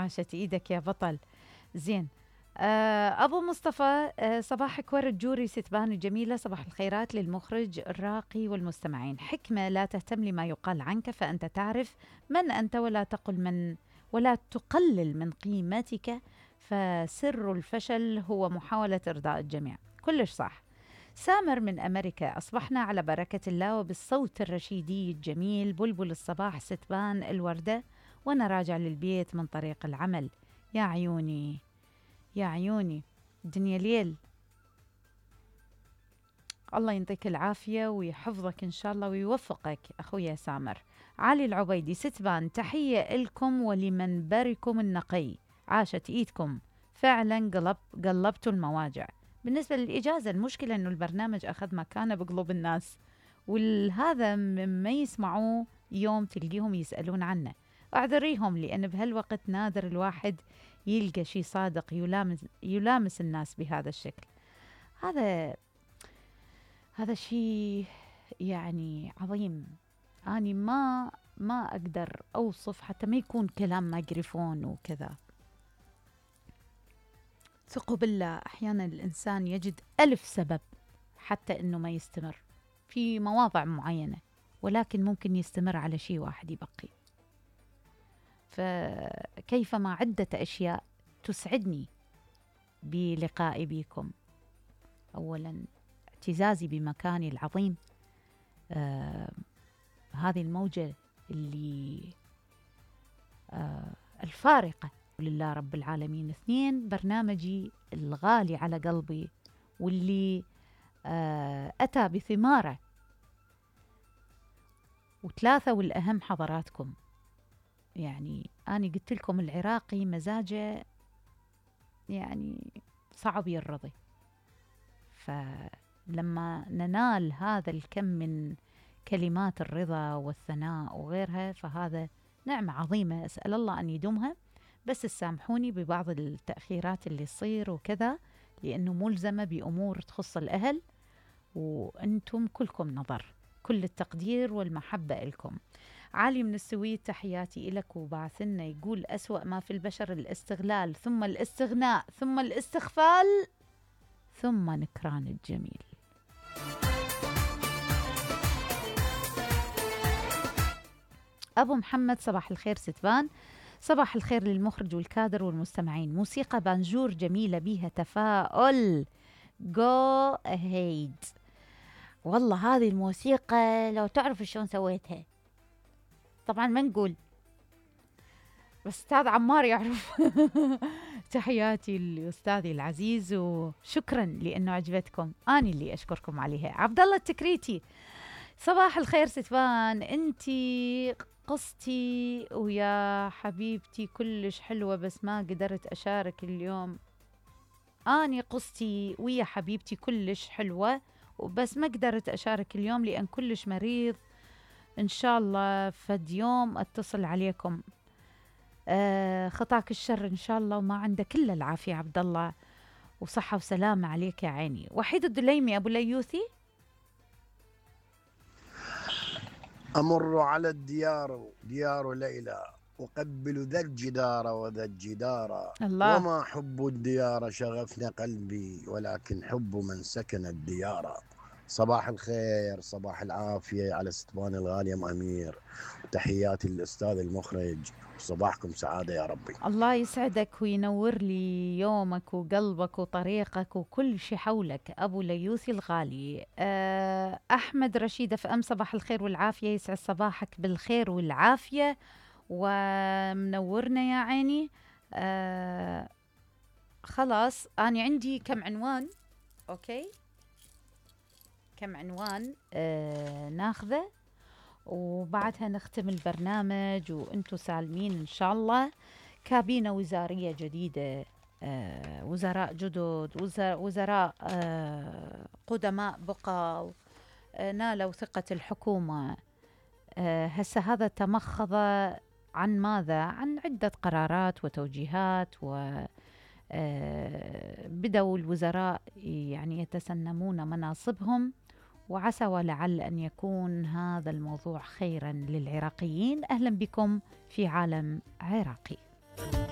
عاشت ايدك يا بطل. زين. أبو مصطفى، صباحك ورد جوري ستبان الجميلة، صباح الخيرات للمخرج الراقي والمستمعين. حكمة: لا تهتم لما يقال عنك فأنت تعرف من أنت، ولا تقلل من قيمتك، فسر الفشل هو محاولة إرضاء الجميع. كلش صح. سامر من أمريكا: أصبحنا على بركة الله وبالصوت الرشيدي الجميل، بلبل الصباح ستبان الوردة وأنا راجع للبيت من طريق العمل. يا عيوني يا عيوني، الدنيا ليل. الله ينطيك العافية ويحفظك إن شاء الله ويوفقك أخويا سامر. علي العبيدي: ستبان تحية لكم ولمنبركم النقي، عاشت إيدكم، فعلا قلبتوا المواجع. بالنسبة للإجازة، المشكلة أنه البرنامج أخذ مكانه بقلوب الناس، والهذا مما يسمعوه يوم تلقيهم يسألون عنه. أعذريهم، لأن بهالوقت نادر الواحد يلقى شيء صادق يلامس الناس بهذا الشكل. هذا شيء يعني عظيم. أنا ما أقدر أوصف، حتى ما يكون كلام مايكروفون وكذا. ثقوا بالله، أحيانا الإنسان يجد 1000 سبب حتى أنه ما يستمر في مواضع معينة، ولكن ممكن يستمر على شيء واحد يبقي. فكيفما عدة أشياء تسعدني بلقائي بكم. أولا اعتزازي بمكاني العظيم، هذه الموجة اللي الفارقة لله رب العالمين. 2 برنامجي الغالي على قلبي واللي أتى بثماره. 3 والأهم حضراتكم. يعني أنا قلت لكم العراقي مزاجه يعني صعب يرضي، فلما ننال هذا الكم من كلمات الرضا والثناء وغيرها فهذا نعمة عظيمة، أسأل الله أن يدومها. بس سامحوني ببعض التأخيرات اللي تصير وكذا، لأنه ملزمة بأمور تخص الأهل، وأنتم كلكم نظر. كل التقدير والمحبة لكم. علي من السويد: تحياتي إلك وبعثنا. يقول: أسوأ ما في البشر الاستغلال، ثم الاستغناء، ثم الاستغفال، ثم نكران الجميل. أبو محمد: صباح الخير ستبان، صباح الخير للمخرج والكادر والمستمعين. موسيقى بانجور جميلة بيها تفاؤل. جو أهيد. والله هذه الموسيقى لو تعرف شلون سويتها، طبعا ما نقول، بس أستاذ عمار يعرف. تحياتي لأستاذي العزيز، وشكرا لأنه عجبتكم. أنا اللي أشكركم عليها. عبد الله التكريتي: صباح الخير ستبان، أنتي قصتي ويا حبيبتي كلش حلوة، بس ما قدرت أشارك اليوم. أني قصتي ويا حبيبتي كلش حلوة، وبس ما قدرت أشارك اليوم لأن كلش مريض. إن شاء الله فد يوم أتصل عليكم. خطاك الشر إن شاء الله، وما عندك إلا العافية عبد الله، وصحة وسلامة عليك يا عيني. وحيد الدليمي: أبو ليوثي: أمر على الديار، ديار ليلى، أقبل ذا الجدار وذا الجدار، الله. وما حب الديار شغفنا قلبي، ولكن حب من سكن الديار. صباح الخير، صباح العافية على ستبان الغالية أم أمير، تحياتي للأستاذ المخرج، صباحكم سعادة يا ربي. الله يسعدك وينور لي يومك وقلبك وطريقك وكل شيء حولك أبو ليوثي الغالي. أحمد رشيد FM: صباح الخير والعافية، يسعد صباحك بالخير والعافية ومنورنا يا عيني. خلاص أنا عندي كم عنوان. أوكي، كم عنوان ناخذه وبعدها نختم البرنامج وانتم سالمين إن شاء الله. كابينة وزارية جديدة، وزراء جدد، وزراء قدماء بقوا، نالوا ثقة الحكومة. هسه هذا تمخض عن ماذا؟ عن عدة قرارات وتوجيهات، وبدأوا الوزراء يعني يتسنمون مناصبهم، وعسى ولعل أن يكون هذا الموضوع خيرا للعراقيين. أهلا بكم في عالم عراقي.